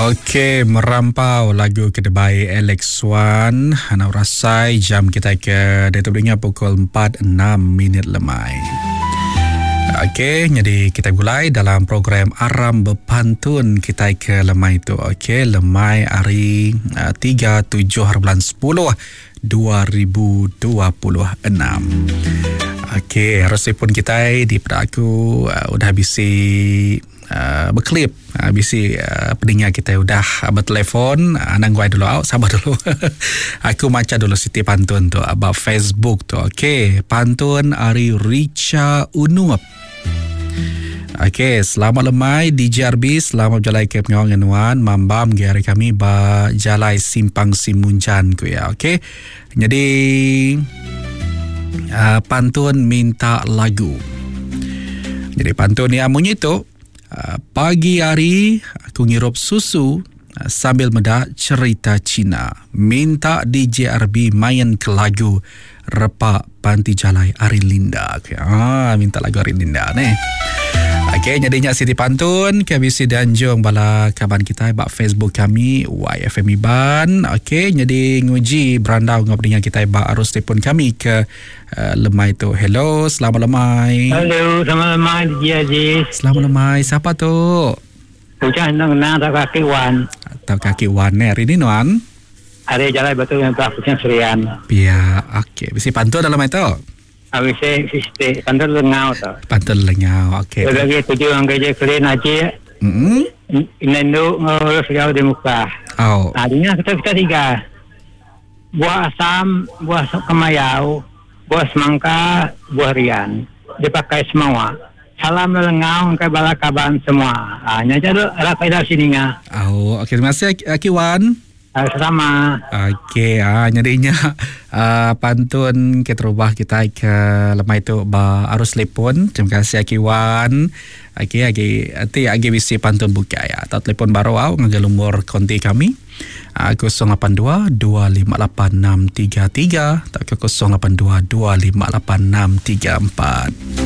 Okey, merampau lagu ke dibai Alex Wan. Anak rasai jam kita ke diatu beringat pukul 4.06 minit lemai. Okey, jadi kita gulai dalam program Aram Bepantun kita ke lemai tu. Okey, lemai hari uh, 3 7 bulan 10 2026. Okey, resipun kita di pada aku uh, udah bisi uh, berklip uh, bisi uh, peninga kita udah uh, bertelefon uh, anang guai dulu au sabar dulu. aku maca dulu siti pantun tu about Facebook tu. Okey, pantun ari Richa Unup. Okey, selamat lemai DJRB, selamat berjalai ke pengawal dengan nuan, mambam ge hari kami ba jalai simpang Simunjan ku ya. Okey. Jadi uh, pantun minta lagu. Jadi pantun yang munyi tu, uh, pagi hari aku ngirup susu uh, sambil meda cerita Cina. Minta DJRB main ke lagu Repa Panti Jalai Ari Linda. Okay. Ah, minta lagu Ari Linda ni. Okey, jadinya Siti Pantun ke bisi dianjung bala kaban kita ba Facebook kami YFM Iban. Okey, jadi nguji berandau ngau peninga kita ba arus telefon kami ke uh, lemai tu. Hello, selamat lemai. Hello, selamat lemai DJ Aziz. Selamat lemai. Siapa tu? Ucah nang nang tak kaki wan. Tak kaki wan ni hari ni nuan. Ari jalai batu yang belah Kuching Serian. Pia, okey. Bisi pantun dalam itu? Ah, bisi bisi pantun lengau tu. Pantun lengau, okey. Lagi tuju orang kerja kelin aji. Mm-hmm. Inendu ngurus jauh di muka. Oh. Nah, ini kita kita tiga. Buah asam, buah kemayau, buah semangka, buah rian. Dipakai semua. Salam lelengau ke bala kaban semua. Ah, nya aja ada faedah sini ngah. Oh, okey terima kasih Akiwan. Sama. Okey, ah nyadinya uh, pantun ke terubah kita ke lemai tu ba arus telefon. Terima kasih Akiwan. Okey, agi ati agi bisi pantun bukai ya. Atau telefon baru au ngagai lumur konti kami. Uh, 082 258 633 atau ke 082 258 634.